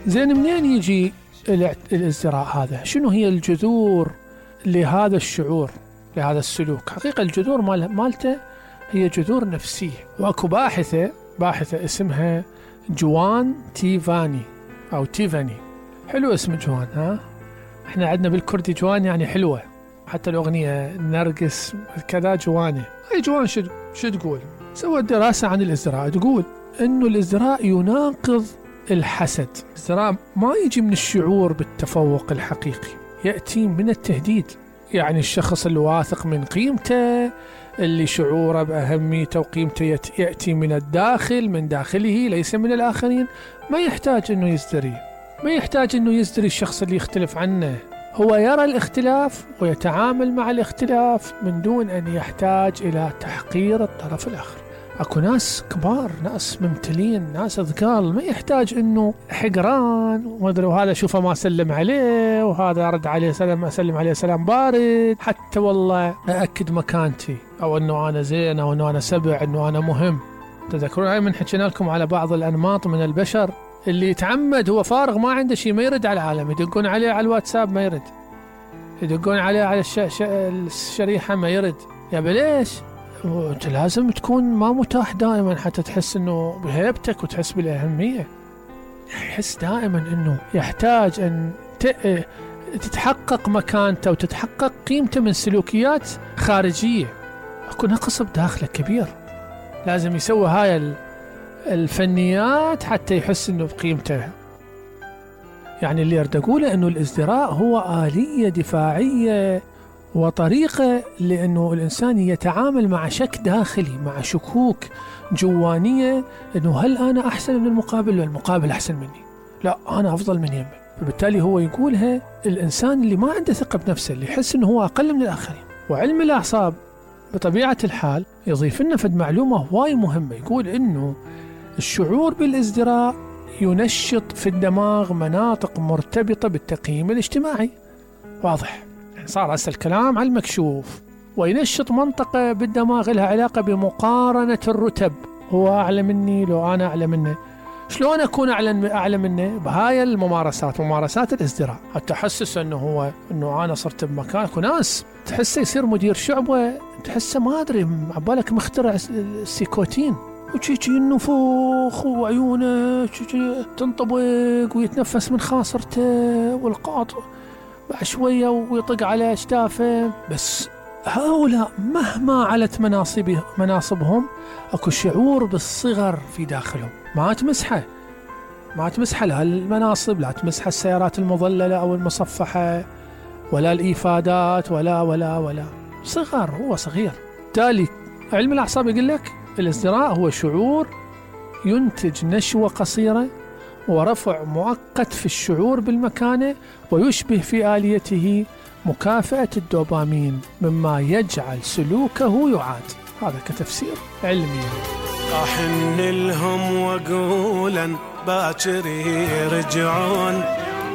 زين منين يجي الازدراء هذا؟ شنو هي الجذور لهذا الشعور، لهذا السلوك؟ حقيقة الجذور مالته هي جذور نفسية. واكو باحثة اسمها جوان تيفاني او تيفاني. حلو اسم جوان، ها؟ احنا عندنا بالكردي جوان يعني حلوة، حتى الأغنية نرقص كذا جوانه. هاي جوان شو تقول؟ سوت دراسة عن الازدراء، تقول انه الازدراء يناقض الحسد. الازدراء ما يجي من الشعور بالتفوق الحقيقي، يأتي من التهديد. يعني الشخص اللي واثق من قيمته، اللي شعوره بأهميته وقيمته يأتي من الداخل، من داخله ليس من الآخرين، ما يحتاج انه يزدري، ما يحتاج انه يزدري الشخص اللي يختلف عنه. هو يرى الاختلاف ويتعامل مع الاختلاف من دون أن يحتاج إلى تحقير الطرف الآخر. أكو ناس كبار، ناس ممتلين، ناس أذكال، ما يحتاج إنه حقران ومدري وهذا شوفه ما سلم عليه وهذا رد عليه سلام، أسلم عليه سلام بارد، حتى والله أأكد مكانتي أو إنه أنا زين أو إنه أنا سبع، إنه أنا مهم. تذكرون هاي من حكينا لكم على بعض الأنماط من البشر اللي يتعمد هو فارغ ما عنده شيء ما يرد على العالم، يدقون عليه على الواتساب ما يرد، يدقون عليه على الشريحة ما يرد. يا بليش؟ انت لازم تكون ما متاح دائما حتى تحس انه بهيبتك وتحس بالأهمية. يحس دائما انه يحتاج ان تتحقق مكانته وتتحقق قيمته من سلوكيات خارجية. اكو نقص بداخله كبير، لازم يسوي هاي الفنيات حتى يحس انه بقيمته. يعني اللي أريد أقوله انه الازدراء هو آلية دفاعية وطريقة لأنه الإنسان يتعامل مع شك داخلي، مع شكوك جوانية، انه هل أنا أحسن من المقابل ولا المقابل أحسن مني؟ لا، أنا أفضل من يمه. فبالتالي هو يقولها الإنسان اللي ما عنده ثقة بنفسه، اللي يحس انه هو أقل من الآخرين. وعلم الأعصاب بطبيعة الحال يضيف لنا فد معلومة هواي مهمة، يقول انه الشعور بالازدراء ينشط في الدماغ مناطق مرتبطة بالتقييم الاجتماعي. واضح؟ يعني صار هسه الكلام على المكشوف. وينشط منطقة بالدماغ لها علاقة بمقارنة الرتب، هو أعلى مني لو أنا أعلى منه، شلون أكون أعلى منه؟ بهاي الممارسات، ممارسات الازدراء، حتى أحسس أنه أنا صرت بمكان. وناس تحسه يصير مدير شعبة، تحسه ما أدري عبالك مخترع السيكوتين، وشي النفوخ وعيونه تنطبق ويتنفس من خاصرته والقاط بعد شوية ويطق على أشتافه. بس هؤلاء مهما علت مناصبهم اكو شعور بالصغر في داخلهم، ما تمسحه لا المناصب، لا تمسحه السيارات المظللة أو المصفحة، ولا الإيفادات، ولا صغر، هو صغير. بالتالي علم الأعصاب يقول لك الازدراء هو شعور ينتج نشوة قصيرة ورفع مؤقت في الشعور بالمكانة، ويشبه في آليته مكافأة الدوبامين، مما يجعل سلوكه يعاد. هذا كتفسير علمي. أحن لهم وأقولا باكر يرجعون